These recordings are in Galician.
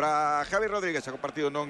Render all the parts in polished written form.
para Javi Rodríguez. O partido non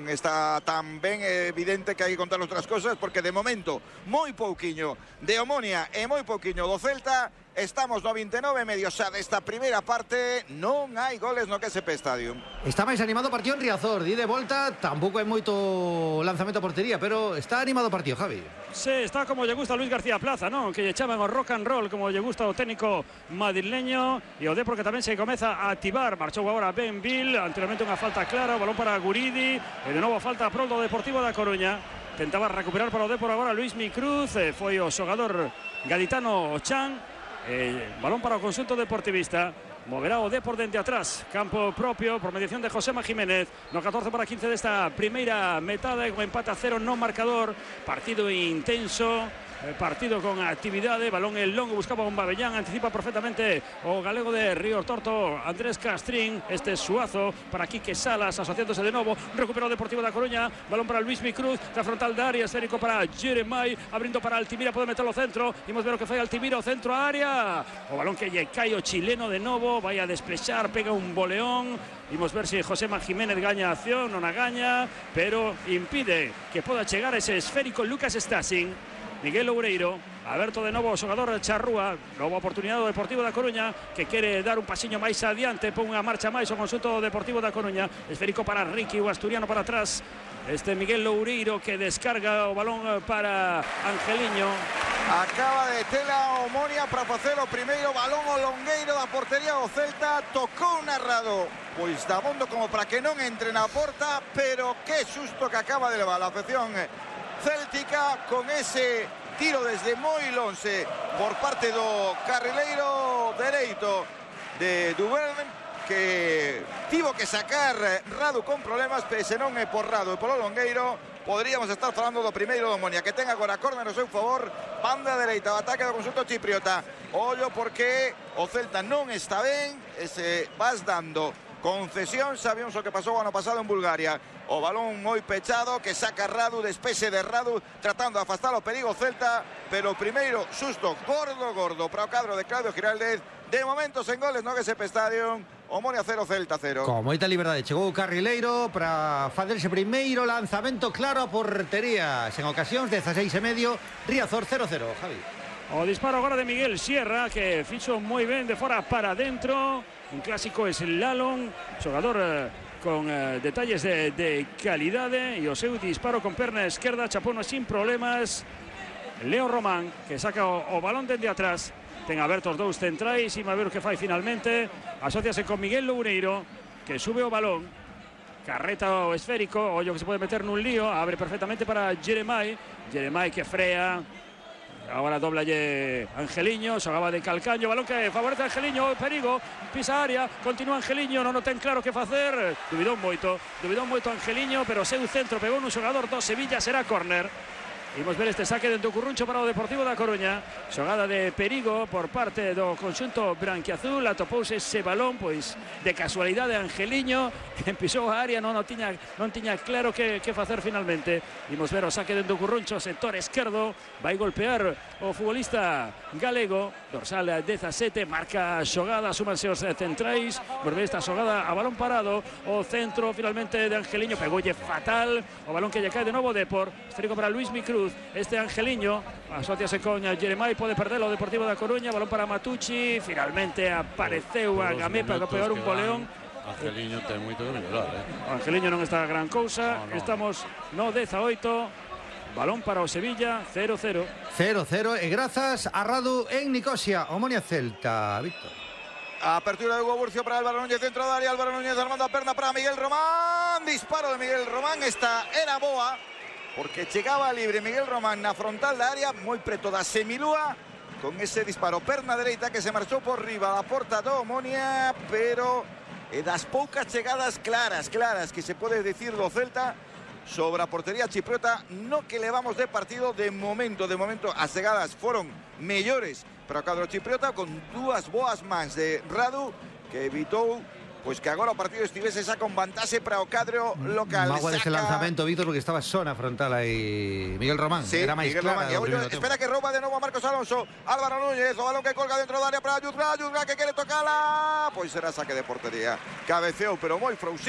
está tan ben, evidente que hai que contar outras cosas, porque de momento moi pouquiño de Omonia e moi pouquiño do Celta. Estamos no 29 medio xa desta primeira parte. Non hai goles no KSP Stadium. Está máis animado o partido en Riazor. Di de volta, tampouco hai moito lanzamento a portería, pero está animado o partido, Javi. Sí, está como lle gusta a Luis García Plaza, ¿no? Que lle chaman o rock and roll, como lle gusta o técnico madrileño. E o Depor que tamén se comeza a activar. Marchou agora Ben Bill, anteriormente unha falta clara, o balón para Guridi, e de novo falta a prol do Deportivo da Coruña. Tentaba recuperar para o Depor agora Luis Micruz, foi o xogador gaditano Chan. Balón para o conxunto deportivista. Moverá o Depor dende atrás. Campo propio por mediación de Josema Jiménez. No 14:15 desta primeira metade, con empate a 0 no marcador. Partido intenso, partido con actividade. Balón el longo, buscaba un Babellán, anticipa perfectamente o galego de Río Torto, Andrés Castrín. Este Suazo para Quique Salas, asociándose de novo. Recupera o Deportivo da Coruña. Balón para Luis Micruz, da frontal de área, esférico para Jeremai, abrindo para Altimira, pode meterlo centro. Imos ver o que fai Altimira, o centro a área. O balón que lle cae o chileno de novo, vai a desplexar, pega un boleón. Imos ver se Josema Jiménez gaña a acción, non a gaña, pero impide que poda chegar ese esférico Lucas Stasin. Miguel Loureiro, aberto de novo o xogador Charrúa, nova oportunidade do Deportivo da Coruña, que quere dar un pasiño máis adiante, pon unha marcha máis o conxunto Deportivo da Coruña. Esférico para Ricky, o asturiano para atrás. Este Miguel Loureiro que descarga o balón para Angeliño. Acaba de tela Omonia para facer o primeiro balón o longueiro da portería do Celta. Tocou narrado pois dabondo como para que non entre na porta, pero que susto que acaba de levar a afección céltica con ese tiro desde moi lonxe por parte do carrileiro dereito de Duverne, que tivo que sacar Radu con problemas, pero se non é por Radu e polo longueiro, poderíamos estar falando do primeiro do Omonia, que ten agora córner no seu favor, banda dereita, o ataque do conxunto chipriota. Ollo porque o Celta non está ben, e se vas dando concesión. Sabíamos o que pasou o ano pasado en Bulgaria. O balón moi pechado que saca Radu, despexe de Radu, tratando de afastar o perigo Celta, pero o primeiro susto gordo para o cadro de Claudio Giraldez. De momento sen goles no KSP Stadium. Omonia 0, Celta 0. Con moita liberdade chegou o carrileiro para facer ese primeiro lanzamento claro a portería. Sen ocasións, 16,5, Riazor 0-0, Javi. O disparo agora de Miguel Sierra, que fixo moi ben de fora para dentro. Un clásico slalom, xogador con detalles de calidade, e o seu disparo con perna esquerda chapouno sin problemas. Leo Román, que saca o balón dende atrás. Ten abertos dous centrais, e a ver o que fai finalmente. Asociase con Miguel Loureiro, que sube o balón, carreta o esférico, ollo que se pode meter nun lío, abre perfectamente para Jeremai. Jeremai que frea. Agora doblalle Angeliño, xogaba de calcaño, balón que favorece a Angeliño, perigo, pisa área, continúa Angeliño, non o ten claro que facer, dubidou moito Angeliño, pero seu centro pegou nun xogador do Sevilla, será córner. Imos ver este saque dentro do Curruncho para o Deportivo da Coruña. Xogada de perigo por parte do conxunto branquiazul. Atopouse ese balón, pois de casualidade Angeliño, que pisou a área, non tiña claro que facer finalmente. Imos ver o saque dentro do Curruncho, sector esquerdo, vai golpear o futbolista galego, dorsal 17, marca a xogada, súmanse os centrais. Por ver esta xogada a balón parado, o centro finalmente de Angeliño, pegoulle fatal, o balón que lle cae de novo Depor, esférico para Luis Micruz. Este Angeliño asociase con Jeremai, pode perder o Deportivo da Coruña, balón para Matucci, finalmente apareceu a Gamé para pegar un boleón. Angeliño ten moito que mellorar, O Angeliño non está a gran cousa, no. Estamos no 18, balón para o Sevilla, 0-0. 0-0 e grazas a Radu en Nicosia, Omonia Celta, Víctor. Apertura de Hugo Burcio para Álvaro Núñez, dentro de área, Álvaro Núñez armando a perna para Miguel Román, disparo de Miguel Román, esta era boa, porque chegaba libre Miguel Román na frontal da área, moi preto da semilúa, con ese disparo perna dereita que se marchou por riba da porta do Omonia, pero das poucas chegadas claras que se pode dicir do Celta sobre a portería chipriota no que levamos de partido. De momento as chegadas foron mellores para o cadro chipriota, con dúas boas mans de Radu, que evitou pois que agora o partido estivese xa con vantaxe para o cadro local. Magua deste lanzamento, Víctor, porque estaba zona frontal aí Miguel Román, sí, era máis clara. Espera que rouba de novo a Marcos Alonso, Álvaro Núñez, o balón que colga dentro da área para Yudra que quere tocala, pois será saque de portería. Cabeceou, pero moi frouxiño.